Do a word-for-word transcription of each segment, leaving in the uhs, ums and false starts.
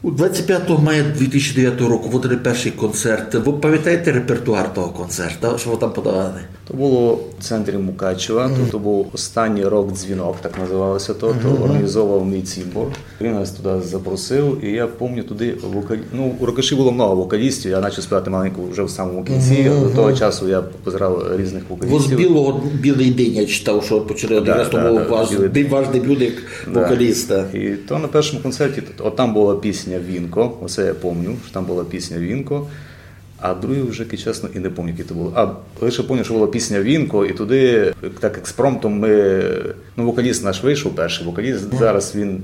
У двадцять пятого мая дві тисячі девятого року вы дали першый концерт. Вы памятаєте репертуар того концерта, што вы там подавали? То было в центрі Мукачева, то, то быв останній рок-дзвінок, так называлося то, то організовував мій цімбор. Він нас туды запросив, і я помню туды вокалі... ну, у Рокаші было много вокалістів, я почав співати маленько вже в самому кінці. До того часу я позирав різних вокалістів. Вы з білого, білый день, я читав, што почали, якраз то быв ваш, ваш дебют як вокаліста. І то на першому концерті, от там была пісня «Вінко», оце я помню, што там была пісня «Вінко», а другу вже, чесно, і не помню, які то были. А лише помню, што была пісня «Вінко», і туды так експромтом мы, ну, вокаліст наш вышов, першый вокаліст, зараз він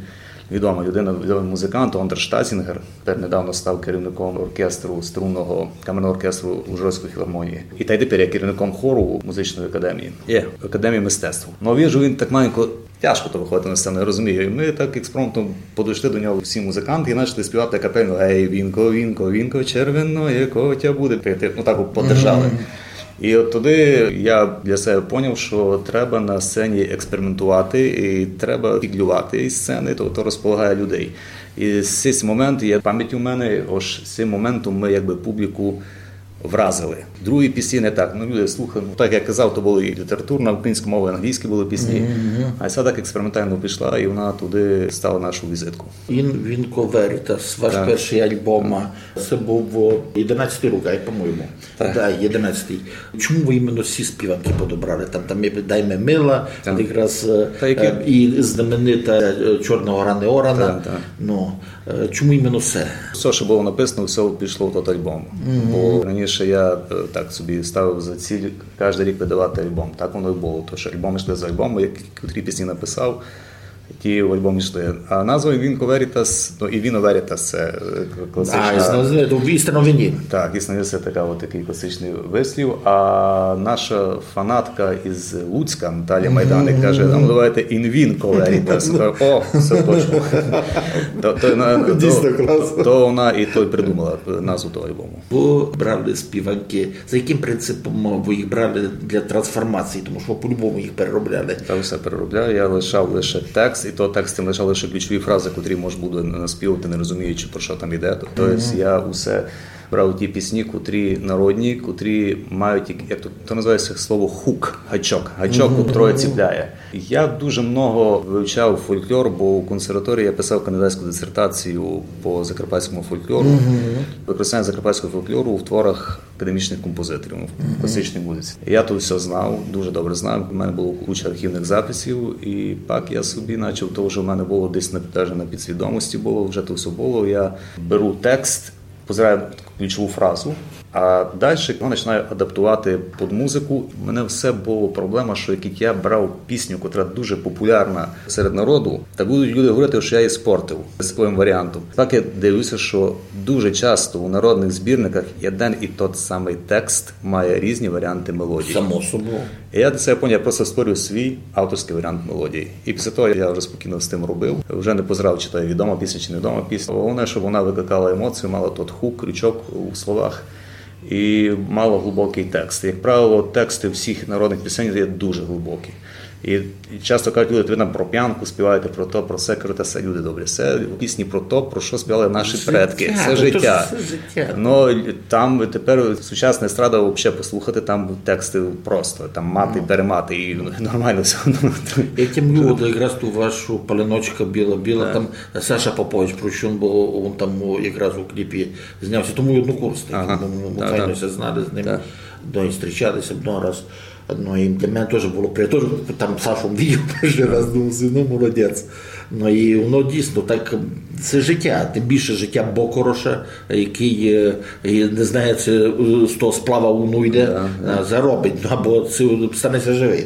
відома людина, відомый музикант, Андер Штазінгер. Тепер недавно став керівником оркестру, струнного камерного оркестру Ужгородської філармонії. І та й тепер є керівником хору музичної академії. Є, академії мистецтв. Ну, вижу, він так маленько тяжко то выходити на сцену, я розумію. І мы так експромтом подошли до нього всі музиканты і почали співати капельно: «Ей, вінко, вінко, вінко, червеноє котя буде пити». Ну, так от поддержали. І от туды я для себе поняв, што треба на сцені експериментувати і треба фіґлювати із сцени, то, то розполагає людей. І з сись момент, я память у мене, ож з сим моментом мы якби публіку вразили. Другі пісні не так. Ну, люди слухали, ну, так як казав, то были і літературна, українська мова, і англійські были пісні. А ця так експериментально пішла, і вона туды стала нашу візитку. Ін Вінко Верітас, ваш першый альбом, а, це быв, о, єдинадцятый рік, ай, по-моєму. Так. Да, єдинадцятый. Чому вы іменно ці співанкы подобрали? Там, там є «Дай ми мила», якраз, е, і знаменита, е, «Чорна гора не орана». Так, так. Ну, е, чому іменно це? Всьо, што было написано, всьо пішло в тот альбом. Бо раніше я, е, так собі ставив за ціль каждый рік выдавати альбом. Так воно і было. Тож альбом йшли за альбомом, як котрі пісні написав, ті в альбом йшли. А назва «Ін Вінко Верітас», ну, «Ін Віно Верітас» це, е, класична... А, істинно, то істинно він є. Так, істинно, це така, от такый класичный вислів. А наша фанатка із Луцька Наталія Майданик каже: «А ну давайте «Ін Вінко Верітас». О, всьо точно. То, то, на-, то, то вона і то й придумала, е, назву того альбому. Вы брали співанкы, за якым принципом вы їх брали для трансформації? Тому што по-любому їх переробляли. Та всьо переробляю, я лишав лише текст, і то текст я лишав лише ключові фразы, котрі мож буде наспівати, не розуміючи, про што там іде. То, то єсть я усе брав ті пісні, котрі народні, котрі мають, як, як то, то называється слово хук, гачок, гачок, котрий ціпляє. Я дуже много вивчав фольклор, бо у консерваторії я писав кандидатську дисертацію по закарпатському фольклору. Використання закарпатського фольклору у творах академічних композиторів, ну, в класичній музиці. Я то всьо знав, дуже добре знав. У мене было куча архівних записів, і пак я собі начав, то вже в мене было десь на, даже на підсвідомості было, вже то всьо было. Я беру текст, позираю ключову фразу, а дальше його починаю адаптувати під музику. У мене все было проблема, што як я брав пісню, котра дуже популярна серед народу, та будуть люди говорити, што я її спортив своїм варіантом. Так я дивлюся, што дуже часто у народних збірниках єден і тот самый текст має різні варіанти мелодії. Само собою. І я для себе поняв, я просто створюю свій авторськый варіант мелодії. І після того я вже спокійно з тим робив. Вже не позирав, чи то є відома пісня, чи невідома пісня. Головне, щоб вона викликала емоцію, мала тот хук, крючок у словах і мала глибокый текст. Як правило, тексты всіх народних пісень є дуже глибокі. І часто кажуть люди: «Ви нам про п'янку співаєте, про то, про се». Кажу: «Та се, люди добрі, се пісні про то, про што співали наші предки. Се життя». Ну, там тепер сучасна естрада вообще послухати, там тексты просто, там мати, перемати, і, ну, нормално всьо. Я тямлю, от якраз ту вашу «Палиночка біла-біла», там Саша Попович Прощун, бо він там у, якраз у кліпі знявся, то мій однокурсник. Ага. Ну, мы файно ся знали з ним, ну, і зустрічалися много раз. Ну, і для мене тоже было приємно. Тоже там Сашу видів першый раз, думав собі, ну, молодець. Ну, і воно дійсно так, се життя, тым більше життя бокороша, якый, е, і не знає, ци, е, з того сплава воно йде, а, заробить, ну, або ци стане ся живый.